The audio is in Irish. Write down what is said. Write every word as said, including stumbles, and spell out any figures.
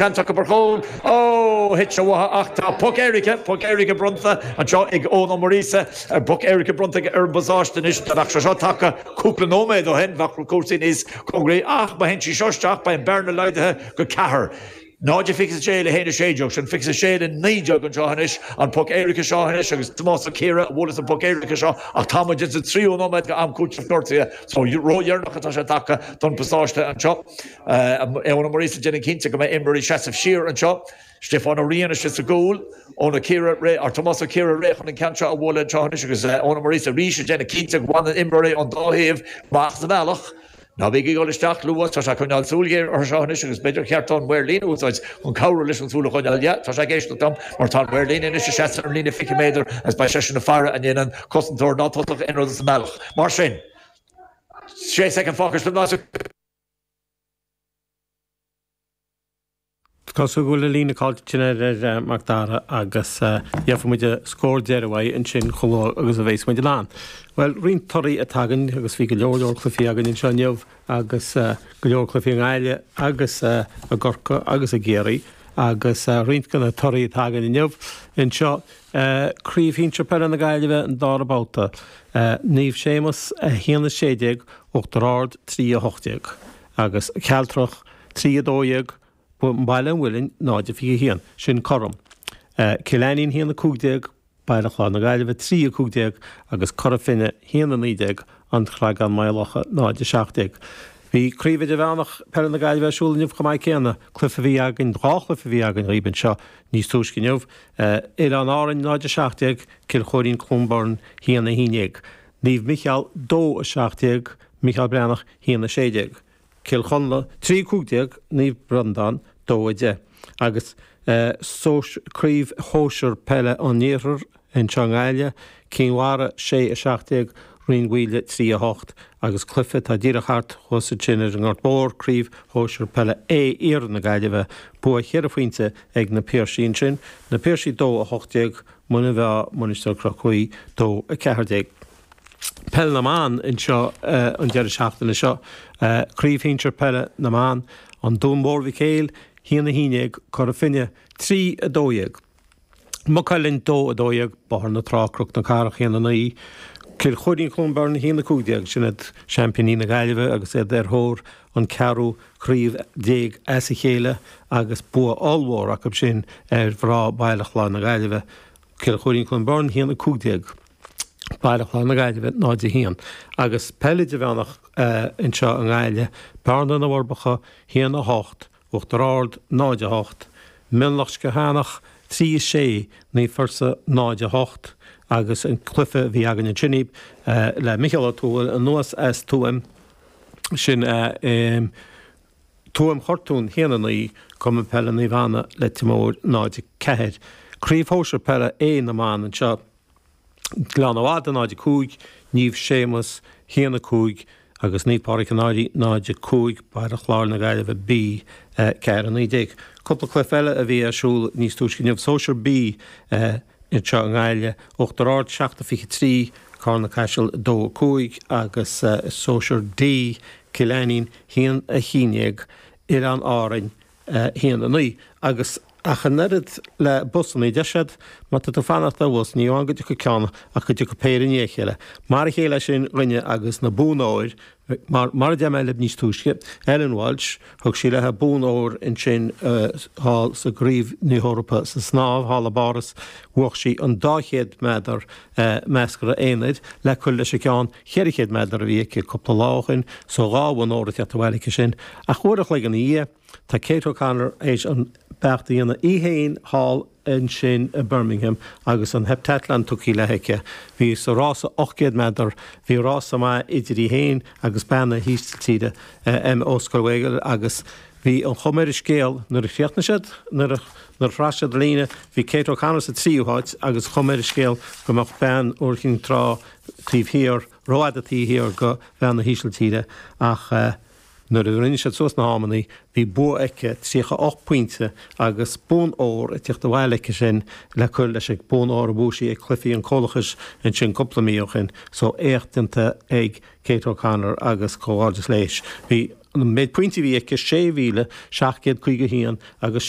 Seans acu ar chúl ó thit sé uathu ach tá poc éirice poc éirice bronnta anseo ag Eoin Ó Muiríosa ar poc éirice bronnta ar an bpasáiste anois dá mbeadh sé seo tagtha cúpla nóiméad ó shin bheadh cúrsaí níos cóngaraí ach má théann sí seo isteach beidh an bearna laghdaithe go ceathair. Náid fiche sé le haon sé déag sin fiche sé le naoi déag anseo anois an poc éirice seo anois agus Tomás Ó Ciara a bhuaileas an poc éirice seo ach tá muid sa tríú nóiméad go am cúiteamh gortaithe so ródheireanach atá sé tagtha don pasáiste anseo. Eoin Ó Muiríosa déanamh cinnte go mbeidh imreoirí seasamh siar anseo. Stiofán Ó Riain istigh sa gcúl Eoin Ó Ciara ré ar Tomás Ó Ciara réidh chun an ceann seo a bhualadh anseo anois agus Eoin Ó Muiríosa arís ag déanamh cinnte go bhfanann imreoirí an dá thaobh amach sa bhealach. Ná bí ag dul isteach luath tá sé coinneáil súil ghéar orthu seo anois agus b'fhéidir cheart an maor líne a úsáid chun cabhrú leis an súil a choinneáil. Yeah, tá sé ag éisteacht liom mar tá an maor líne anois ag seasamh ar an líne fiche méadar agus beidh seisean ag faire an ndéanann cosantóir ná tosach aon rud sa mbealach. Mar sin sé soicind fágtha le Cosúil go bhfuil an líne caillte sin ar Mac Dara agus gheobhaidh muid scór deiridh uaidh ansin chomh luath agus a bheas muid in ann. Well, roinnt torthaí atá againn agus bhí go leor leor cluichí againn anseo inniu agus go leor cluichí i nGaillimh agus i gCorcaigh agus i gCiarraí agus roinnt de na torthaí atá againn inniu anseo Craobh Shinsir Peile na Gaillimhe an dara babhta Naomh Séamus a haon a sé déag Uachtar Ard trí a hocht déag agus Cealtrach trí a dó dhéag Baile an Mhuilinn náid a fiche haon, sin cothrom. Cill Ainnín haon a cúig déag, Baile Chláir na Gaillimhe trí a cúig déag agus Cora Finne haon a naoi déag, An Creagán Maigh Locha náid a seacht déag. Bhí Craobh Idirmheánach Peile na Gaillimhe ar siúl inniu chomh maith céanna. Cluiche a bhí againn, dhá chluiche a bhí againn dhaoib anseo níos túisce inniu. Oileáin Árainn náid a seacht déag, Cill Chóirín Cluain Bheirn haon a haon déag. Naomh Micheál dó a seacht déag, Micheál Breathnach haon a sé déag. Cill Chonla, trí a cúig déag, Naomh Breandán, dó a deich. Agus Craobh Shóisir Peile an Iarthair anseo i nGaillimh, Cinn Mhara, sé a seacht déag, Rinn Mhaoile, trí a hocht. Agus cluiche atá díreach thart thuas ansin ar an nGort Mór, Craobh Shóisir Peile A Iarthar na Gaillimhe, bua cheithre phointe ag na Piarsaigh ansin, Na Piarsaigh dó a hocht déag, Muine Mheá, Mainistir Chnoc Mhuí, dó a ceathair déag. Peil na mBan anseo an deireadh seachtaine seo. Craobh Shinsir Peile na mBan, An Dún Mór Mhic Éil, haon a haon déag, Cora Finne, trí a dó dhéag. Maigh Cuilinn, dó a dó dhéag, Bóthar na Trá, Cnoc na Cathrach, haon a naoi, Cill Chóirín Cluain Bheirn, haon a cúig déag. Sin iad seaimpíní na Gaillimhe agus iad ar thóir an ceathrú craobh déag as a chéile agus bua ollmhór acu sin ar mhná Bhaile Chláir na Gaillimhe. Cill Chóirín Cluain Bheirn, haon a cúig déag. Baile Chláir na Gaillimhe, náid a haon. Agus peil idirmheánach anseo i nGaillimh, Bearna na bhForbacha, haon a hocht, Uachtar Ard, náid a hocht, Mionlach Sceathanach, trí a sé, Naomh Fursa, náid a hocht, agus an cluiche a bhí againn ansin le Micheál Ó Tuathail anuas as Tuaim, sin Tuaim Chortún, haon a naoi, Cumann Peile Naomh Anna, Leitir Móir, náid a ceathair. Craobh Shóisir Peile A na mBan anseo. Gleann Fhada náid a cúig, Naomh Séamus haon a cúig agus Naomh Pádraig an Fhairche náid a cúig, Baile Chláir na Gaillimhe B ceathair a naoi déag. Cúpla cluiche eile a bhí ar siúl níos túisce inniu, Sóisear B anseo i nGaillimh, Uachtar Ard seacht a fiche trí, Carna Caiseal dó a cúig agus Sóisear D, Cill Ainnín haon a haon déag, Oileáin Árainn haon a naoi. Agus ach an oiread le busanna, deir siad, má tá tú ag fanacht ar bhus, ní amháin go dtiocfaidh ceann ach go dtiocfaidh péire i ndiaidh a chéile. Mar a chéile sin dhuine agus na buanna óir, mar, mar a deir mé libh níos túisce, Ellen Walshe, thug sí léi bonn óir ansin thall sa gCraobh na hEorpa sa snámh thall i bPáras, bhuaigh sí an dá chéad méadar measctha aonair le cur leis an gceann cheithre chéad méadar a bhí aici cúpla lá ó shin, so dhá bhonn óir ag teacht abhaile aici sin. Ach uair a chloig ina dhiaidh, Tá Kate O'Connor théis an beart a dhéanamh í féin thall ansin i Birmingham agus an heptathlon tugtha léi aici. Bhí sa rása ocht gcéad méadar, bhí rása maith idir í féin agus bean na hÍsiltíre, Emma Oosterwegel agus bhí an chuma ar an scéal nuair a chríochnaigh siad, nuair a nuair a shroich siad an líne, bhí Kate O'Connor sa tríú háit agus chuma ar an scéal go mbeadh bean Iúr Chinn Trá taobh thiar, rófhada taobh thiar go bhean na hÍsiltíre ach Nuair a rinne siad suas na hamannaí, bhí bua aici, tríocha ocht pointe, agus bonn óir ag tíocht abhaile aici sin le cur leis an bonn óir a bhuaigh sí ag Cluichí an Chomhlachais ansin cúpla mí ó shin. So, éacht déanta ag Kate O'Connor agus comhghairdeas léis. Bhí An méid pointí a bhí aici sé mhíle seacht gcéad caoga haon agus